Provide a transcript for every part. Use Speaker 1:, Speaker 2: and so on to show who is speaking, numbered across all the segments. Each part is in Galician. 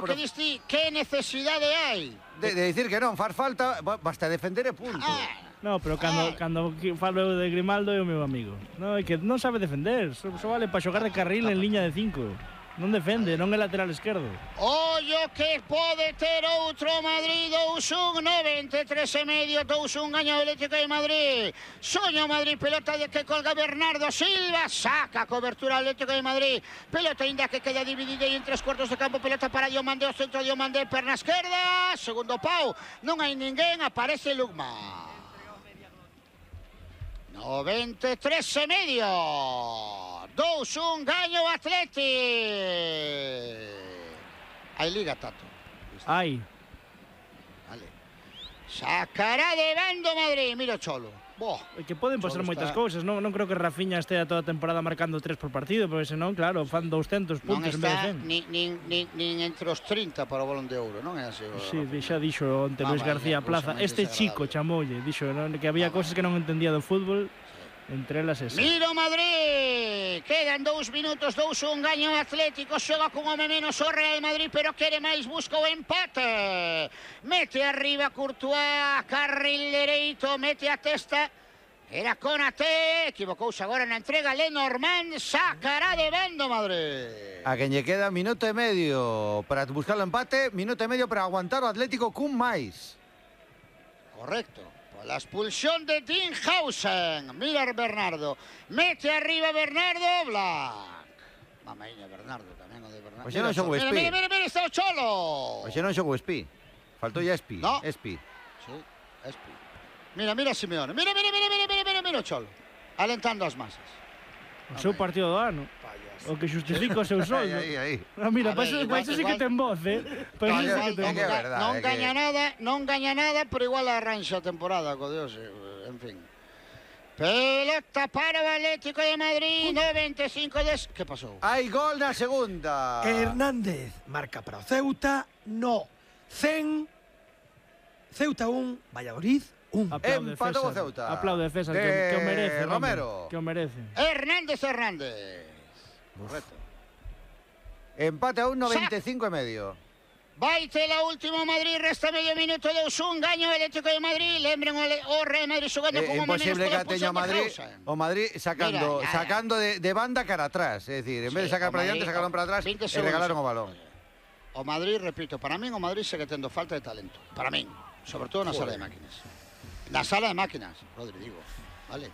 Speaker 1: pero que diste, que necesidade hai?
Speaker 2: De dicir que non, faz falta, basta defender e punto.
Speaker 3: No, pero cando falo de Grimaldo é o meu amigo. No, é que non sabe defender, só vale para xogar de carril en liña de 5. Non defende, non é lateral esquerdo.
Speaker 1: Ollo que pode ter outro Madrid, 2-1, 93,5, 2-1, gaña o Atlético de Madrid. Soña o Madrid, pelota de que colga Bernardo Silva, saca a cobertura Atlético de Madrid. Pelota ainda que queda dividida en 3 cuartos de campo, pelota para Diomandé, o centro Diomandé, perna esquerda, segundo pau, non hai ninguén, aparece Lugma. 93,5. 2-1, gaño o Atleti. Hai liga, Tato.
Speaker 3: Ai.
Speaker 1: Vale. Sacará de bando Madrid. Mira o Cholo.
Speaker 3: É que poden pasar moitas cousas. Non creo que Rafinha estea toda a temporada marcando 3 por partido, porque senón, claro, fan 200 puntos en vez de 100.
Speaker 1: Nin entre os 30 para o Balón de Ouro, non é así?
Speaker 3: Sí, xa dixo onte Luis García Plaza. Este chico chamoulle, dixo que había cousas que non entendía do fútbol. Entre elas esa.
Speaker 1: Mira o Madrid. Quedan 2 minutos, 2-1, gaño o Atlético. Xoga con home menos o Real Madrid, pero quere máis, busca o empate. Mete arriba Courtois, carril dereito, mete a testa. Era Konaté, equivocouse agora na entrega Lenormand, sacará de bando Madrid.
Speaker 2: A quen lle queda minuto e medio para buscar o empate, minuto e medio para aguantar o Atlético cun máis.
Speaker 1: Correcto. La expulsión de Dinhausen. Mira Bernardo. Mete arriba Bernardo. Black. Mamaíña Bernardo tamén o de Bernardo.
Speaker 2: Oxe non xogou Espi.
Speaker 1: Mira, está o Cholo.
Speaker 2: Oxe non xogou Espi. Faltou ya Espi.
Speaker 1: No.
Speaker 2: Espi.
Speaker 1: Sí, Espi. Mira Simeone. Mira o Cholo. Alentando as masas.
Speaker 3: O seu partido do ano. O que justifica o seu soldo.
Speaker 2: Aí.
Speaker 3: Mira, para iso sí que ten voz,
Speaker 1: Non gaña nada, pero igual arranxa a temporada, co Dios, en fin. Pelota para o Atlético de Madrid, 95 des... Que pasou?
Speaker 2: Hai gol na segunda.
Speaker 4: Hernández marca para o Ceuta, no. 100, Ceuta 1, Valladolid 1.
Speaker 2: Empatou o Ceuta.
Speaker 3: Aplaude César, que o merece.
Speaker 2: Romero.
Speaker 3: Que o merece.
Speaker 1: Hernández. Correcto.
Speaker 2: Empate a 1,95,5.
Speaker 1: Vaite la última Madrid, resta medio minuto, 2-1, gaño o Atlético de Madrid. Lembren o Real Madrid xogando con home menos
Speaker 2: imposible que teña o Madrid sacando de banda cara atrás, é dicir, en vez de sacar para diante, sacaron para atrás e regalaron o balón.
Speaker 1: O Madrid, repito, para min o Madrid segue tendo falta de talento, para min, sobre todo na sala de máquinas. Na sala de máquinas, Rodri, digo, vale,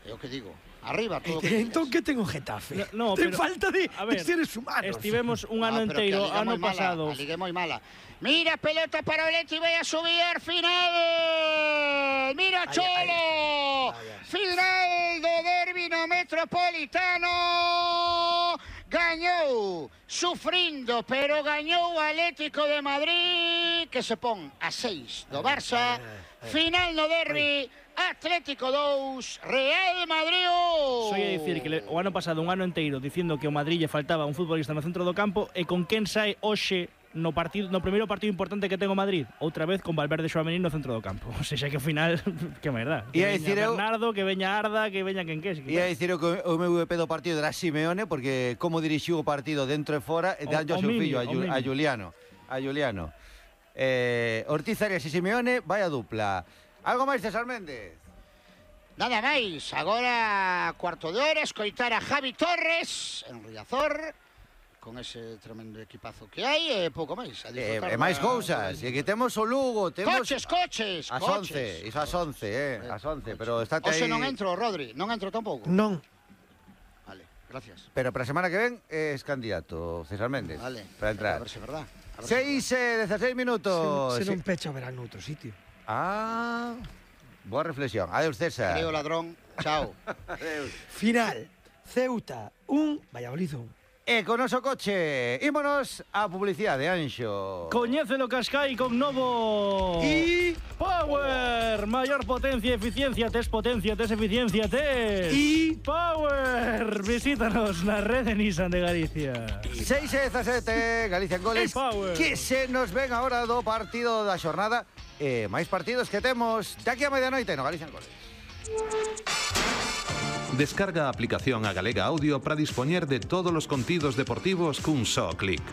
Speaker 1: é o que digo. Arriba, todo
Speaker 4: entón que ten o Getafe? Ten falta de seres humanos.
Speaker 3: Estivemos un ano inteiro, ano pasado.
Speaker 1: A liga é moi mala. Mira, pelota para o Leti, vai a subir, final! Mira, Cholo! Final do derbi no Metropolitano! Gañou, sufrindo, pero gañou o Atlético de Madrid, que se pon a 6 do Barça. Final no derbi. Atlético 2, Real Madrid 1.
Speaker 3: Soy a dicir que o ano pasado, un ano inteiro, dicindo que o Madrid lle faltaba un futbolista no centro do campo, e con quen sai hoxe no primeiro partido importante que ten o Madrid, outra vez con Valverde e Tchouaméni no centro do campo. O sea, que ao final, que merda. Que veña Bernardo, que veña Arda, que veña quen que.
Speaker 2: E a dicir que o meu EP do partido era Simeone, porque como dirixiu o partido dentro e fora, danlle o seu fillo, a Juliano. Ortiz Arias e Simeone, vaya dupla. Algo máis, César Méndez?
Speaker 1: Nada máis, agora cuarto de hora, escoitar a Javi Torres en Riazor, con ese tremendo equipazo que hai, e pouco máis.
Speaker 2: E máis cousas, e que temos o Lugo, temos...
Speaker 1: Coches!
Speaker 2: As 11, iso as 11, as 11, pero estate aí...
Speaker 1: Oxe, non entro, Rodri, non entro tampouco.
Speaker 4: Non.
Speaker 1: Vale, gracias.
Speaker 2: Pero para a semana que ven es candidato, César Méndez.
Speaker 1: Vale,
Speaker 2: para entrar.
Speaker 1: a ver se é verdad.
Speaker 2: 16 minutos.
Speaker 4: Se non pecha, verá noutro sitio.
Speaker 2: Boa reflexión. Adeus, César.
Speaker 1: Creo ladrón. Chao.
Speaker 2: Adeus.
Speaker 4: Final. Ceuta 1, Valladolid 1.
Speaker 2: E con noso coche, ímonos a publicidade, Anxo.
Speaker 3: Coñécelo Cascai con novo...
Speaker 4: Y...
Speaker 3: Power. Mayor potencia, eficiencia, tes eficiencia, tes...
Speaker 4: Y...
Speaker 3: Power. Visítanos na rede Nissan de Galicia.
Speaker 2: 6-17, Galicia en goles.
Speaker 3: Power.
Speaker 2: Que se nos ven agora do partido da xornada. Máis partidos que temos de aquí a medianoite no Galicia en goles.
Speaker 5: Descarga a aplicación A Galega Audio para dispoñer de todos os contidos deportivos cun só clic.